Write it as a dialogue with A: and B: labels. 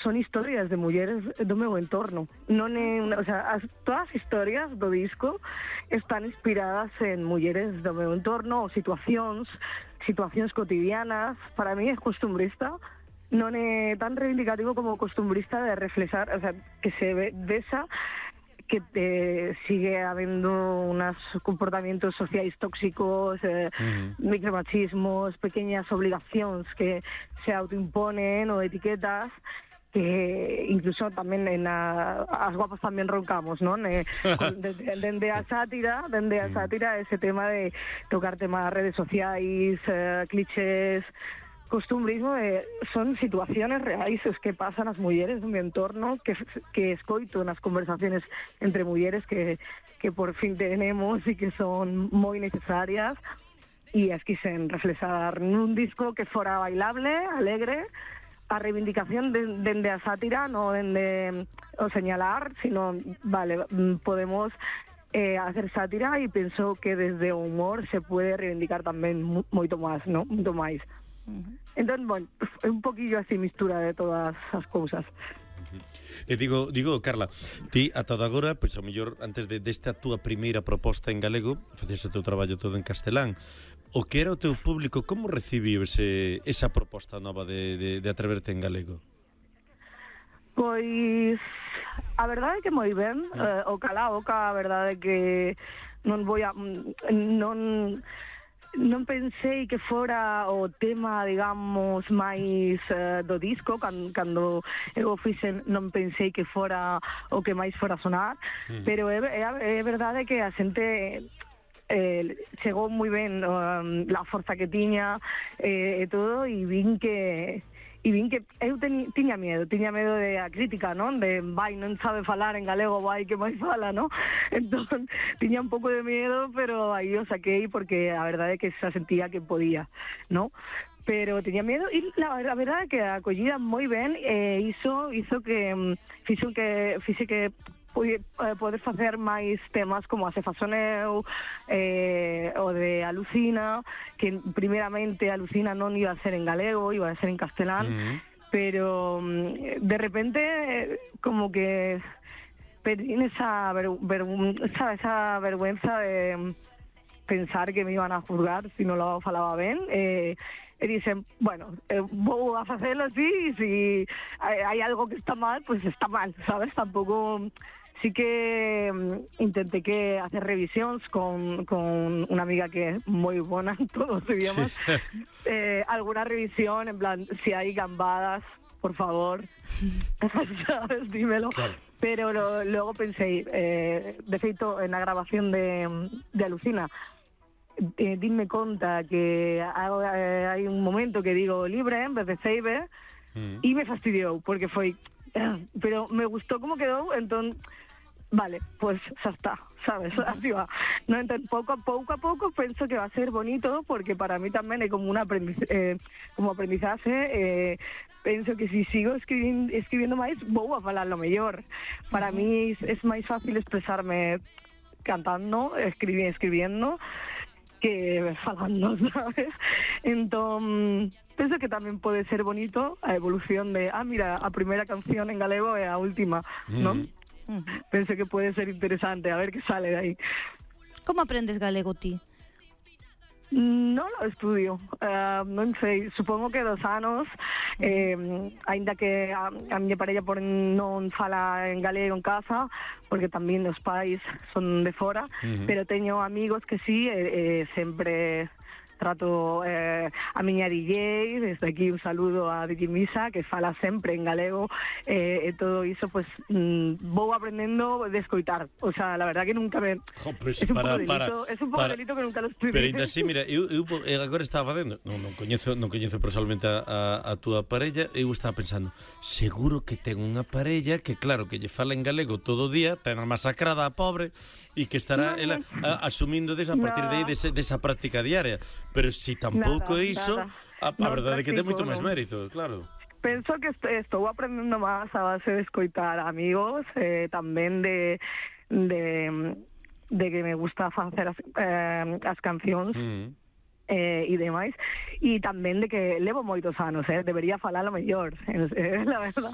A: son historias de mulleres do meu entorno. Non é, o sea, todas as historias do disco están inspiradas en mulleres do meu entorno ou situacións cotidianas. Para mí é costumbrista, non é tan reivindicativo como costumbrista de reflexar, o sea, que se vesa que sigue habendo unos comportamientos sociais tóxicos, micromachismos, pequeñas obligacións que se autoimponen ou etiquetas que incluso tamén as guapas tamén roncamos, non? Dende a sátira, ese tema de tocar temas redes sociais, clichés, costumbrismo, son situaciones reais que pasan as mulleres do meu entorno, que escoito nas conversaciones entre mulleres que por fin tenemos e que son moi necesarias, e as quixen reflexar nun disco que fora bailable, alegre, a reivindicación dende a sátira, non dende o señalar, sino, vale, podemos hacer sátira, e penso que desde o humor se puede reivindicar tamén moito máis, non? Moito máis. Entón, bueno, é un poquillo así mistura de todas as cousas.
B: E digo, Carla, ti ata agora, pois ao mellor antes desta túa primeira proposta en galego, faces o teu traballo todo en castelán. O que era o teu público, como recibiu esa proposta nova de atreverte en galego?
A: Pois a verdade é que moi ben, o cala a boca, a verdade é que non pensei que fora o tema, digamos, máis do disco. Cando eu o fixen non pensei que fora o que máis fora sonar, pero é verdade que a xente chegou moi ben a forza que tiña e todo, e vin que eu tiña medo de a crítica, non? De, non sabe falar en galego, que máis fala, non? Entón, tiña un pouco de medo, pero aí o saquei porque a verdade é que se sentía que podía, non? Pero tiña medo, e a verdade é que a acollida moi ben, iso que fixe que poder facer máis temas como a Se Fasoneu, o de Alucina, que primeramente Alucina non iba a ser en galego, iba a ser en castelán, pero de repente como que perdín esa vergüenza de pensar que me iban a juzgar si non lo falaba ben, e dicen, bueno, vou a facelo así, e si hai algo que está mal, pues está mal, sabes? Tampouco. Sí que intenté que hacer revisións con unha amiga que é moi bona en todos os idiomas. Alguna revisión, en plan, si hai gambadas, por favor, sabes, dímelo. Claro. Pero logo pensei, de feito, na grabación de Alucina, dime conta que hai un momento que digo libre en vez de save, e me fastidiou, porque foi... Pero me gustou como quedou, entón... Vale, pues xa está, sabes, así va. No, entón, pouco a pouco penso que va a ser bonito, porque para mí tamén é como como aprendizaje. Penso que si sigo escribindo máis, vou a falar lo mellor. Para mí é máis fácil expresarme cantando, escribiendo, que falando, sabes? Entón, penso que tamén pode ser bonito a evolución de, mira, a primeira canción en galego é a última, non? Penso que pode ser interesante, a ver que sale de aí.
C: Como aprendes galego ti?
A: Non lo estudio, non sei, supongo que 2 anos, aínda que a miña parella non fala en galego en casa, porque tamén os pais son de fora, pero teño amigos que sí, sempre trato a miña DJ, desde aquí un saludo a DJ Misa, que fala sempre en galego, e todo iso, pues vou aprendendo de escoitar. O sea, la verdad que nunca me...
B: Pues
A: es un pouco delito que nunca lo estudié.
B: Pero ainda así, mira, eu agora estaba facendo, non coñezo personalmente a túa parella, eu estaba pensando, seguro que ten unha parella que claro, que lle fala en galego todo o día, ten masacrada a pobre, e que estará ela asumindo a partir de aí desa práctica diaria. Pero si tampouco iso, a verdade é que ten moito máis mérito, claro.
A: Penso que estou aprendendo máis a base de escoitar amigos, tamén de que me gusta facer as cancións e demais, e tamén de que levo moitos anos, debería falalo mellor, la verdad.